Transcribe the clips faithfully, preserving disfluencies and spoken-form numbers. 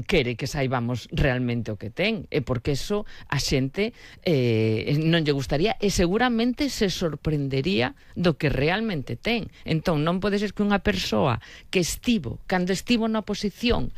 quere que saibamos realmente o que ten, e porque eso a xente eh, non lle gustaría e seguramente se sorprendería do que realmente ten. Entón non pode ser que unha persoa que estivo, cando estivo na oposición,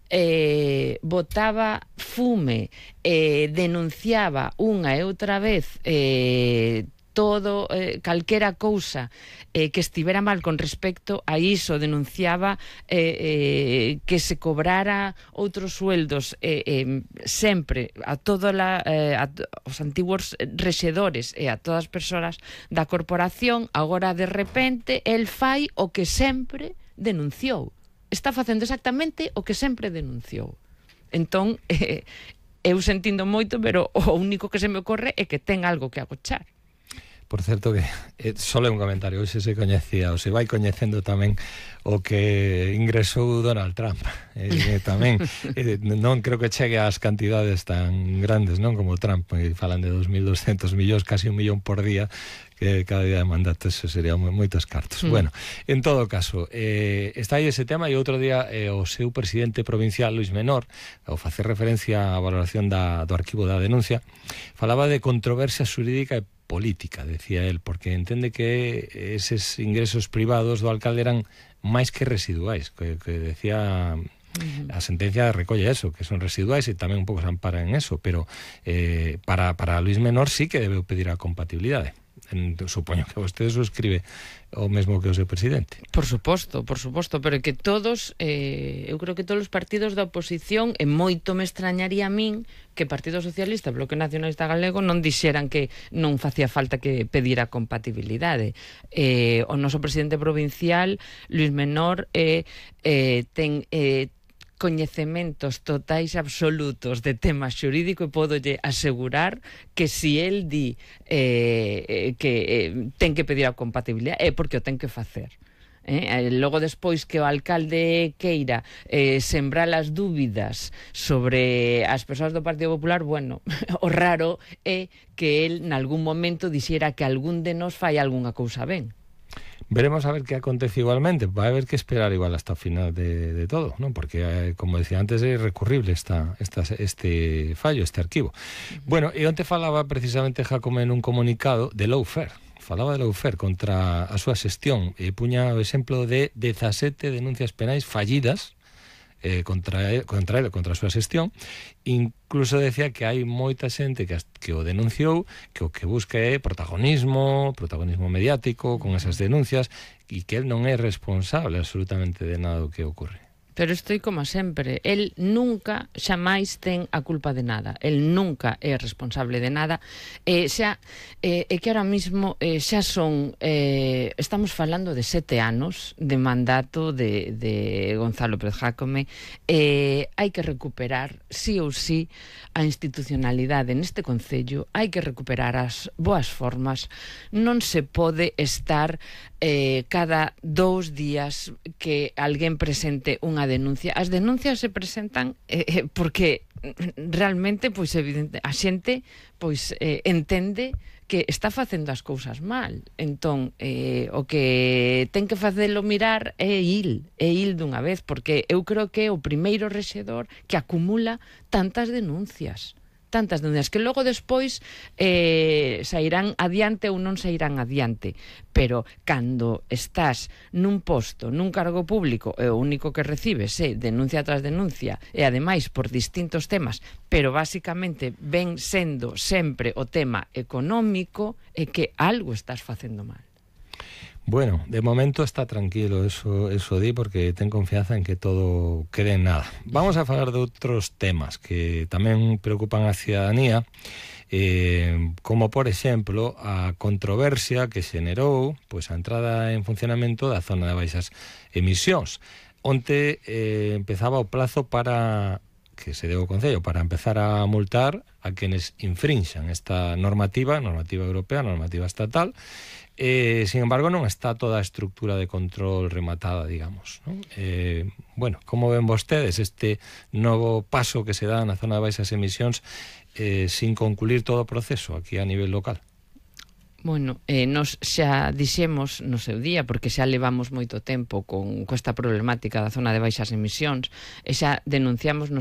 eh, botaba fume, eh, denunciaba unha e outra vez eh, todo, eh, calquera cousa eh, que estivera mal con respecto a iso, denunciaba eh, eh, que se cobrara outros sueldos eh, eh, sempre a todos eh, os antiguos rexedores e a todas as persoas da corporación. Agora de repente el fai o que sempre denunciou, está facendo exactamente o que sempre denunciou. Entón eh, eu sentindo moito, pero o único que se me ocorre é que ten algo que agochar. Por certo que eh, só é un comentario, hoxe se coñecía, ou se vai coñecendo tamén o que ingresou Donald Trump. Eh, tamén eh, non creo que chegue ás cantidades tan grandes, non, como Trump, eh, falan de dos mil doscientos millóns, casi un millón por día, que cada día de mandato, eso sería moitos cartos. Mm. Bueno, en todo caso, eh, está aí ese tema, e outro día eh, o seu presidente provincial, Luís Menor, ao facer referencia á valoración da, do arquivo da denuncia, falaba de controversia xurídica e política, decía él, porque entende que eses ingresos privados do alcalde eran máis que residuais, que, que decía a sentencia recolle eso, que son residuais e tamén un pouco se ampara en eso, pero eh, para, para Luís Menor sí que debe pedir a compatibilidade. En, supoño que vostede suscribe o mesmo que o seu presidente. Por suposto, por suposto, pero que todos, eh, eu creo que todos os partidos da oposición, e moito me extrañaría a min que Partido Socialista e Bloque Nacionalista Galego non dixeran que non facía falta que pedira compatibilidade. Eh, o noso presidente provincial, Luís Menor, eh, eh, ten... Eh, coñecementos totais absolutos de tema xurídico, e podolle asegurar que si el di eh, que eh, ten que pedir a compatibilidade é porque o ten que facer. Eh? Logo despois que o alcalde queira eh, sembrar as dúbidas sobre as persoas do Partido Popular, bueno, o raro é que el nalgún momento dixera que algún de nós fai algunha cousa ben. Veremos a ver que acontece igualmente. Va a haber que esperar igual hasta o final de, de todo, ¿no? Porque, eh, como decía antes, é recurrible esta, esta, este fallo, este arquivo. Bueno, e onte falaba precisamente Jácome nun comunicado de lawfare. Falaba de lawfare contra a súa xestión e puña o exemplo de dezasete denuncias penais fallidas eh, contra, el, contra ele, contra a súa xestión. Incluso decía que hai moita xente que, que o denunciou, que o que busca é protagonismo, protagonismo mediático con esas denuncias, e que el non é responsable absolutamente de nada do que ocorre. Pero estoy como sempre, el nunca, xamais ten a culpa de nada, el nunca é responsable de nada, eh, xa, eh, é que ahora mismo eh, xa son, eh, estamos falando de sete anos de mandato de, de Gonzalo Pérez Jácome, eh, hai que recuperar, sí ou sí, a institucionalidade neste concello, hai que recuperar as boas formas, non se pode estar eh, cada dous días que alguén presente unha denuncia. As denuncias se presentan eh, porque realmente, pois, evidente, a xente pois eh, entende que está facendo as cousas mal. Entón, eh, o que ten que facelo mirar é il, é il dunha vez, porque eu creo que é o primeiro rexedor que acumula tantas denuncias. tantas denuncias que logo despois eh, sairán adiante ou non sairán adiante, pero cando estás nun posto, nun cargo público, e o único que recibes é denuncia tras denuncia, e ademais por distintos temas, pero basicamente ven sendo sempre o tema económico, é que algo estás facendo mal. Bueno, de momento está tranquilo, eso, eso di, porque ten confianza en que todo quede en nada. Vamos a falar de outros temas que tamén preocupan a ciudadanía, eh, como por exemplo a controversia que xenerou pois, a entrada en funcionamento da zona de baixas emisións. Onte eh, empezaba o plazo para que se deu o Concello para empezar a multar a quenes infrinxan esta normativa, normativa europea, normativa estatal. Eh, sin embargo, non está toda a estructura de control rematada, digamos, ¿no? Eh, bueno, como ven vostedes este novo paso que se dá na zona de baixas emisións eh, sin concluir todo o proceso aquí a nivel local? Bueno, eh, nos xa dixemos no seu día, porque xa levamos moito tempo con, con esta problemática da zona de baixas emisións, e xa denunciamos no seu